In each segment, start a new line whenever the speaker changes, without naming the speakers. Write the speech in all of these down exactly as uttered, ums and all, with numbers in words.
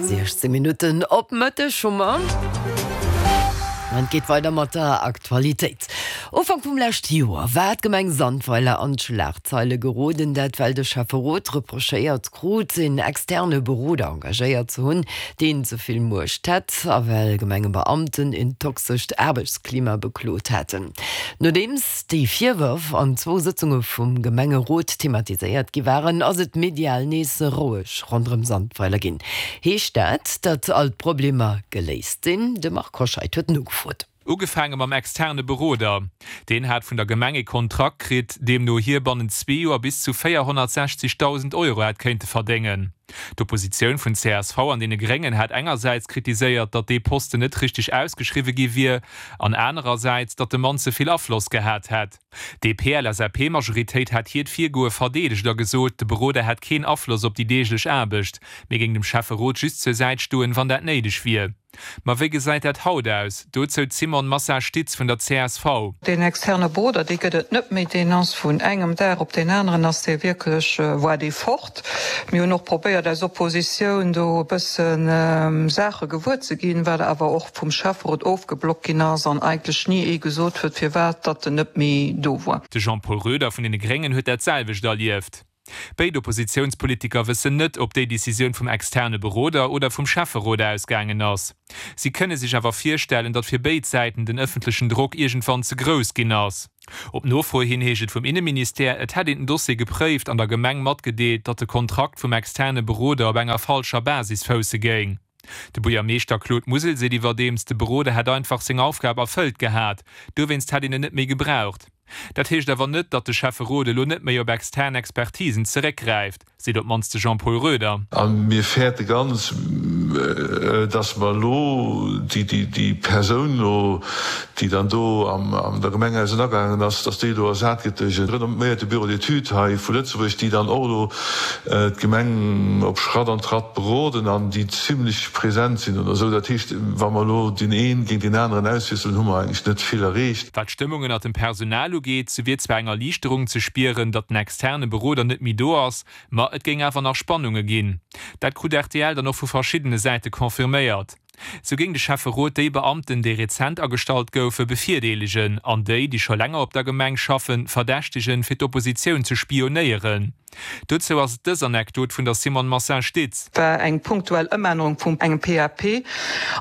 Siechzéng Minutten op Mëtteg hu mer. An et geet weider mat der Aktualitéit. Ufank vum leschte Joer war d'Gemeng Sandweiler an d'Schlagzeile geroden, dat well de Schäfferot reprochéiert krut, een externe Beroder engagéiert ze hunn, deen ze vill Muecht hätt, a well Gemengebeamten een toxescht Aarbechtsklima beklot hätten. Nodeems déi Virwërf an zwou Sëtzunge vum Gemengerot thematiséiert gi waren, ass et medial nees roueg ronderëm Sandweiler ginn. Heescht dat, datt all d'Problemer geléist sinn? De Marc Hoscheid huet nogefrot.
Ugefaange mam externe Beroder. Deen hat vun der Gemeng e Kontrakt kritt, deemno hie bannent zwee Joer bis zu véierhonnertsechzegdausend Euro hätt kéinte verdéngen. D'Oppositioun vun csv an deene Gréngen hat engersäits kritiséiert, datt dee Posten net richteg ausgeschriwwe gi wier, an anerersäits, datt de Mann ze vill Afloss gehat hätt. D'DP-LSAP-Majoritéit hat hiert Virgoe verdeedegt a gesot, de Beroder hätt keen Afloss op déi deeglech Aarbecht, mee géing dem Schäfferot just zur Säit stoen, wann dat néideg wier. Ma wéi gesäit dat haut aus? Dozou d'Simone Massa-Stitz vun der csv.
Deen externe Beroder, dee gëtt et net méi. Deen ass vun engem Dag op deen aneren ass dee wierklech, war dee fort. Mir hunn och probéiert als Oppositioun do e bësse Saache gewuer ze ginn, wat awer och vum Schäfferot ofgeblockt ginn ass an eigentlech ni ee gesot huet, firwat datt en net méi do war.
De Jean-Paul Roeder vun deene Gréngen huet dat selwecht erlieft. Béid Oppositiounspolitiker wëssen net, ob déi Decisioun vum externe Beroder oder vum Schäfferot ausgaangen ass. Si kënne sech awer virstellen, datt fir béid Säiten den ëffentlechen Drock iergendwann ze grouss ginn ass. Op Nofro hin heescht et vum Inneministère, et hätt een den Dossier gepréift an der Gemeng matgedeelt, datt de Kontrakt vum externe Beroder op enger falscher Basis fousse géing. De Buergermeeschter Claude Musel seet iwwerdeems, de Beroder hätt einfach seng Aufgab erfëllt gehat, dowéinst hätt een en net méi gebraucht. Dat heescht awer net, datt de Schäfferot elo net méi op extern Expertisen zeréckgräift, seet op d'mannst de Jean-Paul Roeder.
A mir fäerte ganz, datt mer elo déi Persoun elo, déi dann do an der Gemeng ausenergaangen ass, datt déi elo ersat gëtt duerch e renomméierte Bureau d'études hei vu Lëtzebuerg, déi dann och elo d'Gemeng op Schratt an Tratt beroden an déi zimlech present sinn oder esou. Dat heescht, wa mer elo deen ee géint deen aneren auswiesselen, hu mer eigentlech net vill erreecht.
Wat d'Stëmmung ënnert dem Personal ugeet, sou wier zwar eng Erliichterung ze spieren, datt den externe Beroder net méi do ass, ma et géing awer nach Spannunge ginn. Dat krut rtl dann och vu verschiddene Säite confirméiert. Sou géing de Schäfferot déi Beamten, déi rezent agestallt goufen, bevirdeelegen an déi, déi scho länger op der Gemeng schaffen, verdächtegen, fir d'Oppositioun ze spionéieren. Dozou ass et dës Anekdot vun der Simone Massin-Stitz.
War eng punktuell Ëmännerung vum engem PAP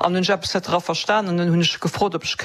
an hunn ech eppes net dra verstanen an hunn ech gefrot, ob ech